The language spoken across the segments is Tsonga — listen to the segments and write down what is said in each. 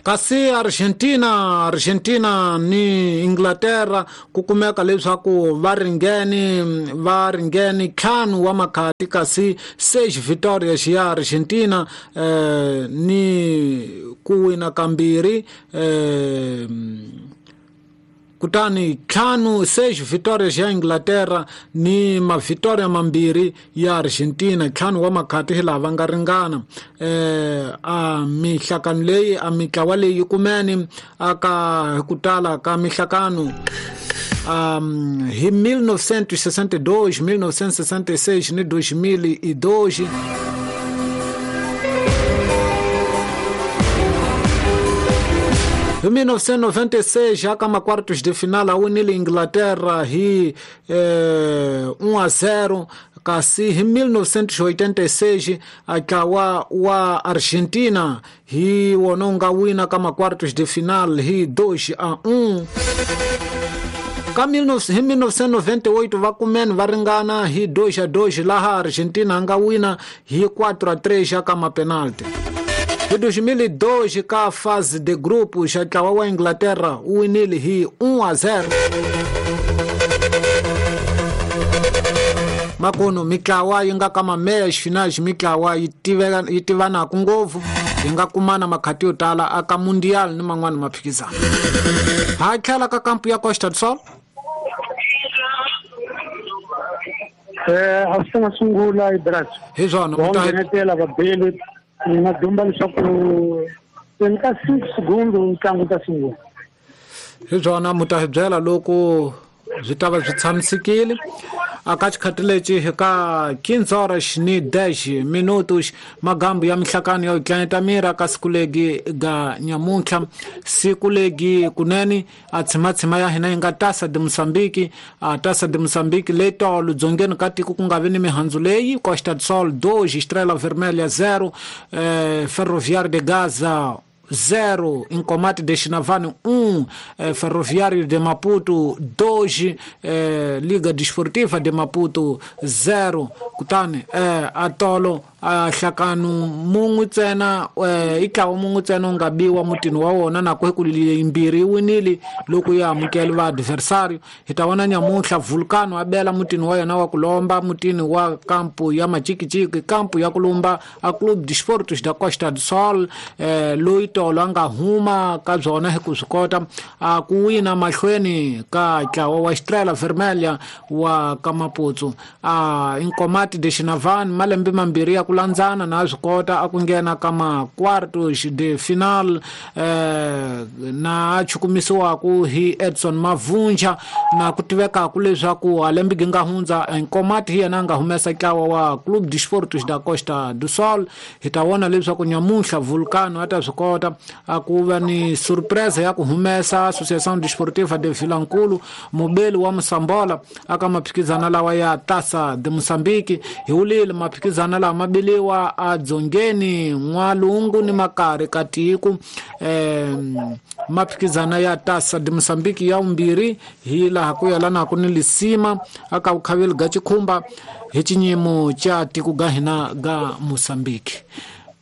Kasi Argentina, Argentina ni Inglaterra ku kumeka leswaku va ringene, va ringene ntlhanu wa makhati, kasi 6 vitórias ya Argentina ni ku wina kambirhi, kutani ntlhanu 6 vitórias ya Inglaterra ni mavitoria mambirhi ya Argentina, ntlhanu wa makhati hi laha va nga ringana. A mihlakano leyi, a mitlawa leyi yi kumene aka hi ku tala ka mihlakano, hi 1962, 1966 ni 2002. Hi 1996 aka ma-quartos de final a winile Inglaterra hi 1-0, kasi hi 1986 a ntlawa wa Argentina hi wona wu nga wina ka ma-quartos de final hi 2-1. Ka hi 1998 va kumene va ringana hi 2-2, laha Argentina a nga wina hi 4-3 aka ma-penalty. Hi 2002 ka fase de grupo xa ntlawa wa Inglaterra wu winile hi 1-0. Makuno mitlawa yi nga ka ma-meias finais, mitlawa yi tiveka, yi tivanaka ngopfu, yi nga kumana makhati yo tala aka Mundial ni man'wana maphikizano. Ha tlhela ka kampu ya Costa do Sol. A swi nga sungula hi Brazil. Hi swona, Va nghenetela vabeli, ni nga dumba leswaku ni ka 6 segundu ntlangu ta sungula. Hi swona, mu ta hi byela loko byi ta va byi tshamisekile. Aka xikhathi lexi hi ka quinze horas ni dez minutos, magambu ya mihlakano ya tlanyeta miri aka siku legi ga nyamuntlha, siku legi kunene a tshimatshima ya hina yi nga Taça de Moçambique. A Taça de Moçambique leyi tolo dzongeni ka tiko ku nga vi ni mihandzu leyi, Costa do Sol 2, Estrela Vermelha 0, Ferroviário de Gaza 0, Incomate de Xinavane 1, Ferroviário de Maputo 2, Liga Desportiva de Maputo 0. Kutani a tolo a hlakano mun'we ntsena, i ntlawa mun'we ntsena wu nga biwa mutini wa wona, na ku hi ku yimbirhi yi winile loko yi amukela va adversario. Hi ta vona nyamuntlha Vulcano a bela mutini wa yena wa ku lomba, mutini wa kampu ya Machikichiki, kampu ya ku lumba a Clube de Esportes da Costa do Sol, loyi tolo a nga huma ka byona hi ku swi kota a ku wina mahlweni ka ntlawa wa Estrela Vermelha wa ka Maputo. A Incomate de Xinavane malembe mambirhi ya ku landzana na swi kota a ku nghena ka ma-quartos de final, na a chukumisiwaku hi Edson Mavunja, na ku tivekaku leswaku a lembe gi nga hundza Incomate hi yena a nga humesa ntlawa wa Clube de Esportes da Costa do Sol. Hi ta vona leswaku nyamuntlha Vulcano a ta swi kota a ku va ni surprise ya ku humesa Associação Desportiva de Vilankulu, mubeli wa Mosambola aka maphikizana lawa ya Taça de Moçambique. Hi wulile maphikizana lawa ma biliwa a dzongeni n'walungu ni makari ka tiko, maphikizana ya Taça de Moçambique ya vumbirhi hi laha ku yelanaka ni lisima aka vukhaveli ga Chikhumba hi xinyimo xa tiko ga hina ga Moçambique.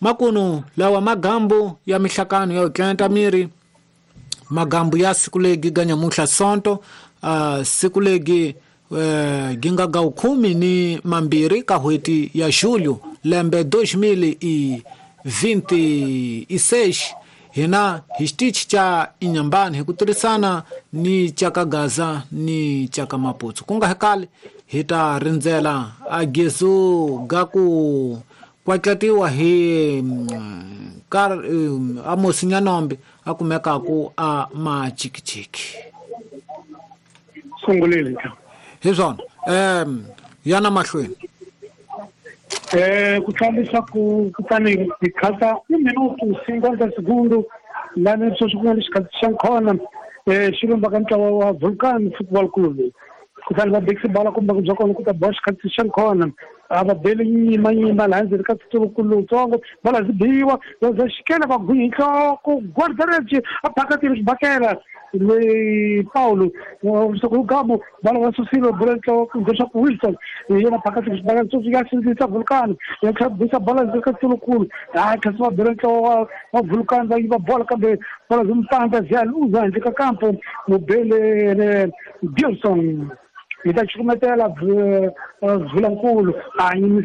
Makunu lawa magambu ya mihlakano ya tlanta miri, magambu ya siku legi ga nyamuntlha Sonto, siku legi gi nga ga khume ni mambirhi ka n'hweti ya Julho lembe dois mil e vinte e seis. Hina hi xitichi xa Inhambane hi ku tirhisana ni xa ka Gaza ni xa ka Maputo. Ku nga hi kale hi ta rindzela a gezu ga ku kwatlatiwa hi Amos Nyanombe a kumekaku a Machikichiki. Sungulile. Hi swona. Yana mahlweni. Ku tlangisa ku kutani hi khata un minuto cinquenta segundo lani sweswi ku nga ni xikhathi xa nkhona, xi lombaka ntlawa wa Vulcan Football Club. Kutani va bekisa bala kumbe ku bya kona ku ta boxa xikhathi xa nkhona. A va beli nyimanyima laha ndzeni ka tsutsulukulu lowutsongo, bola byi biwa va xikela va gwinya hi nhloko. Guardareci a phakatile xibakela loyi Paulo Sokugamo, bola va susile bola nhloko leswaku Wilson hi yena phakatile xibakela. Sweswi ya sindzisa Vulcano, ya tlhela bisa bola ndzeni ka tsutsulukulu. Hayi, kasi va bela nhloko wa Vulcano, va yiva bola, kambe bola byi mupandza byi ya luza handle ka kampo. Mubele Gilson yi ta cukumetela Vulankulu a yimisa.